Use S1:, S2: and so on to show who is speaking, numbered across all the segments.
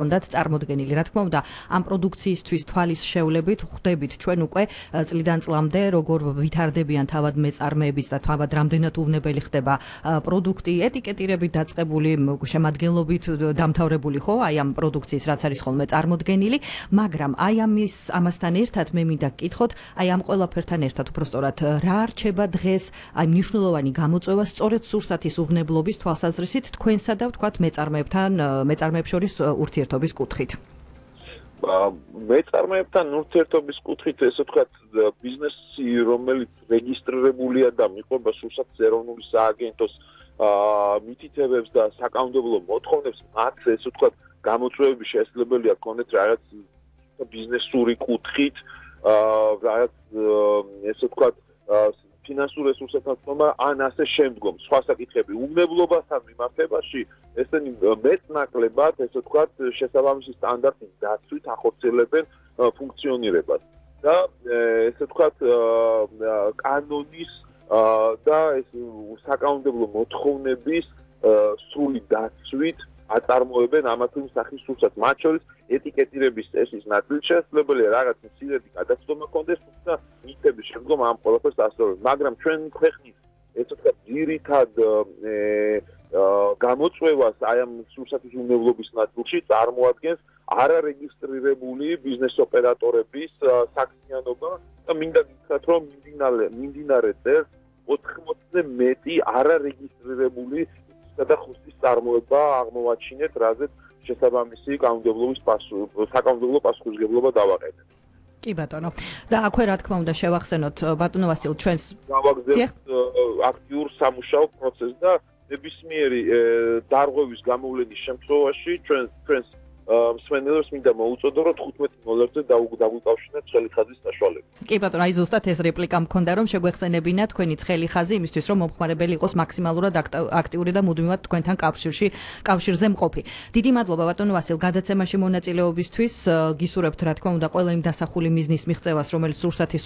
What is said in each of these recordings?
S1: უნდათ წარმოდგენილი. Რა თქმა უნდა, ამ პროდუქციისთვის თვალის შევლებით ხვდებით ჩვენ უკვე წლიდან წლამდე როგორ ვითარდებიან თავად მეწარმეების და თავად რამდენად უვნებელი ხდება პროდუქტი, ეტიკეტირებით დაწყებული, შემადგენლობით დამთავრებული ხო, აი ამ პროდუქციის რაც არის ხოლმე წარმოდგენილი, მაგრამ აი ამასთან ერთად მე მინდა გკითხოთ, აი ამ ყველაფერთან ერთად უბრალოდ რა არჩება დღეს აი მნიშვნელოვანი გამოწვევა სწორედ სურსათის უვნებლობის თვალსაზრისით თქვენსა და ვთქვათ მეწარმეებს შორის ურთიერთობის კუთხით.
S2: მეწარმეებთან ურთიერთობის კუთხით ესე ვთქვათ ბიზნესი რომელიც რეგისტრირებულია და მიყვება სურსათის ეროვნული სააგენტოს მითითებებს და საკანონმდებლო მოთხოვნებს მათ ესე ვთქვათ გამოწვევები შესაძლებელია ქონდეთ რაღაც ბიზნესური კუთხით რაღაც ესე ვთქვათ ფინანსურ რესურსებთან თქმა ან ასე შემდგომ სხვა საკითხები უვნებლობასთან მიმართებაში ესენი მეტნაკლებად ესე ვთქვათ შესაბამისი სტანდარტის დაცვით ახორციელებენ ფუნქციონირებას და ესე ვთქვათ კანონის და ეს საკანონმდებლო მოთხოვნების სრული დაცვით აწარმოებენ ამა თუ იმ სახის სურსათს მათ შორის ეტიკეტირების წესის ნაწილი შესაძლებელია რაღაც მცირედი გადაცდომა კონდეს თუმცა მითების შემდგომ ამ ყველაფერს ასწავლებს მაგრამ ჩვენ ქვეყნის ესე ვთქვათ ძირითად გამოწვევას აი ამ სურსათის უვნებლობის ნაწილში წარმოადგენს არარეგისტრირებული ბიზნეს ოპერატორების საქმიანობა და მინდა გითხრათ რომ მიმდინარე წელს 80-ზე მეტი არარეგისტრირებული და ხუსტის წარმოება აღმოვაჩინეთ, რაზეც შესაბამისი საკანონმდებლო პასუხისმგებლობა დავაყენეთ.
S1: კი ბატონო. და აქვე რა თქმა უნდა შევახსენოთ ბატონო ვასილ ჩვენს
S2: გავაგზავნეთ აქტიურ სამუშაო პროცესს და ნებისმიერი დარღვევის გამოვლენის შემთხვევაში ჩვენს მსმენელებს მინდა მოუწოდო რომ 15 დოლარზე დაგვიკავშირნეთ ცხელი ხაზის საშუალებით.
S1: კი ბატონო, აი ზუსტად ეს რეპლიკა მქონდა რომ შეგვეხსენებინა თქვენი ცხელი ხაზი იმისთვის რომ მომხმარებელი იყოს მაქსიმალურად აქტიური და მუდმივად თქვენთან კავშირზე მყოფი. დიდი მადლობა ბატონო ვასილ გადაცემაში მონაწილეობისთვის. გისურვებთ რა თქმა უნდა ყველა იმ დასახული მიზნის მიღწევას რომელიც სურსათის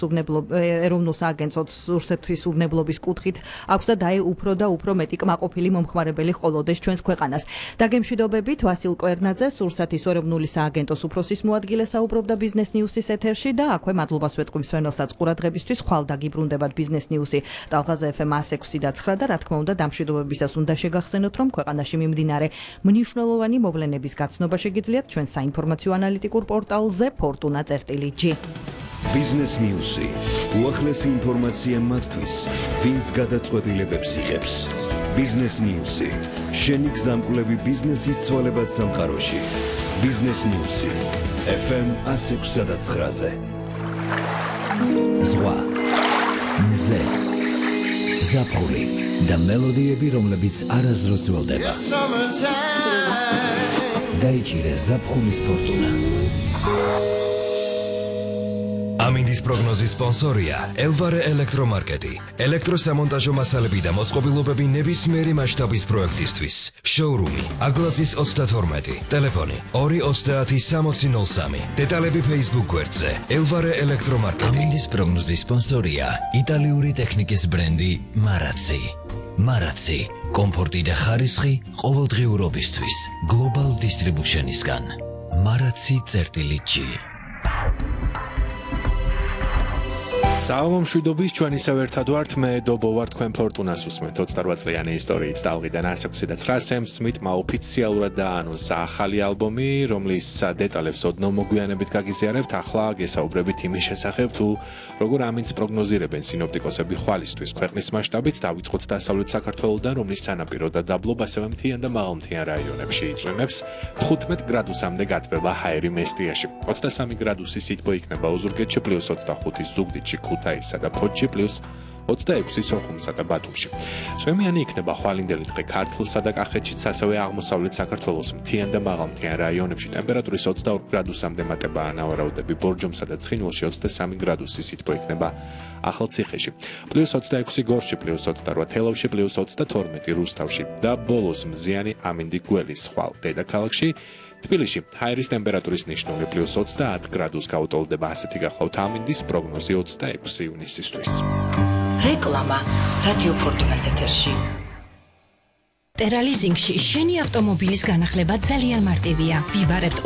S1: ეროვნულ სააგენტოს სურსათის უვნებლობის კუთხით აქვს და უფრო და უფრო მეტი კმაყოფილი მომხმარებელი ყოლოდეს ჩვენს ქვეყანას. დაგემშვიდობებით ვასილ კვერნაძე სურსათის ეროვნული სააგენტოს უფროსის მოადგილე საუბრობდა ბიზნეს ნიუსის ეთერში და აქვე მადლობას ვეტყვი მსმენელსაც ყურადღებისთვის. ხვალ დაგიბრუნდებათ ბიზნეს ნიუსი ტალღაზე FM 106 და 9 და რა თქმა უნდა დამშვიდობებისას უნდა შეგახსენოთ რომ ქვეყანაში მიმდინარე მნიშვნელოვანი მოვლენების გაცნობა შეგიძლიათ ჩვენ საინფორმაციო ანალიტიკურ პორტალზე fortuna.g.
S3: ბიზნეს ნიუსი უახლესი ინფორმაცია მათთვის ვინც გადაწყვეტილებებს იღებს. ბიზნეს ნიუსი შენი გზამკვლევი ბიზნესის ცვალებად სამყაროში. ბიზნეს ნიუსი FM 106-ზე. ზღვა მზე ზაფხული და მელოდიები რომლებიც არასდროს ველდება. დაიჭირე ზაფხულის ფორტუნა. ამინდის პროგნოზის სპონსორია ელვარე ელექტრომარკეტი. ელექტროსამონტაჟო მასალები და მოწყობილობები ნებისმიერი მასშტაბის პროექტისთვის. შოურუმი აგლაზის 32, ტელეფონი 230-6003. დეტალები Facebook გვერდზე ელვარე ელექტრომარკეტი. ამინდის პროგნოზის სპონსორია იტალიური ტექნიკის ბრენდი მარაცი. მარაცი კომფორტი და ხარისხი ყოველდღიურობისთვის. Global Distribution-ისგან. maracsi.g.
S4: საამომშვიდობის ჩვენ ისევ ერთად ვართ მე დობო ვარ თქვენ ფორტუნას უსმენთ 28 წლიანი ისტორიით ტალღიდან 106-და 9 Sam Smith-მა ოფიციალურად დაანონსა ახალი ალბომი რომლის დეტალებს ოდნავ მოგვიანებით გაგიზიარებთ ახლა გესაუბრებით იმის შესახებ თუ როგორ ამინდს პროგნოზირებენ სინოპტიკოსები ხვალისთვის ქვეყნის მასშტაბით დავიწყოთ დასავლეთ საქართველოდან რომლის სანაპირო და დაბლობ ასევე მთიან და მაღალმთიან რაიონებში იწვიმებს 15 გრადუსამდე გათბება ჰაერი მესტიაში 23 გრადუსი სითბო იქნება ოზურგეთში +25 ზუგდიდში ქუთაისსა და ფოთში +26 სოხუმსა და ბათუმში. წვიმიანი იქნება ხვალინდელი დღე ქართლსა და კახეთშიც, ასევე აღმოსავლეთ საქართველოს მთიან და მაღალმთიან რაიონებში ტემპერატურის 22 გრადუსამდე მატება ანავარაუდები, ბორჯომსა და ცხინვალში 23 გრადუსი სითბო იქნება ახალციხეში, +26 გორში, +28 თელავში, +22 რუსთავში და ბოლოს მზიანი ამინდი გველის ხვალ დედაქალაქში. თბილისში ჰაერის ტემპერატურის ნიშნული +30 გრადუს გაუტოლდება ასეთი გახლავთ ამინდის პროგნოზი 26 ივნისისთვის.
S5: რეკლამა რადიო ფორტუნას ეთერში. ტერალიზინგში შენი ავტომობილის განახლება ძალიან მარტივია. ვიბარებთ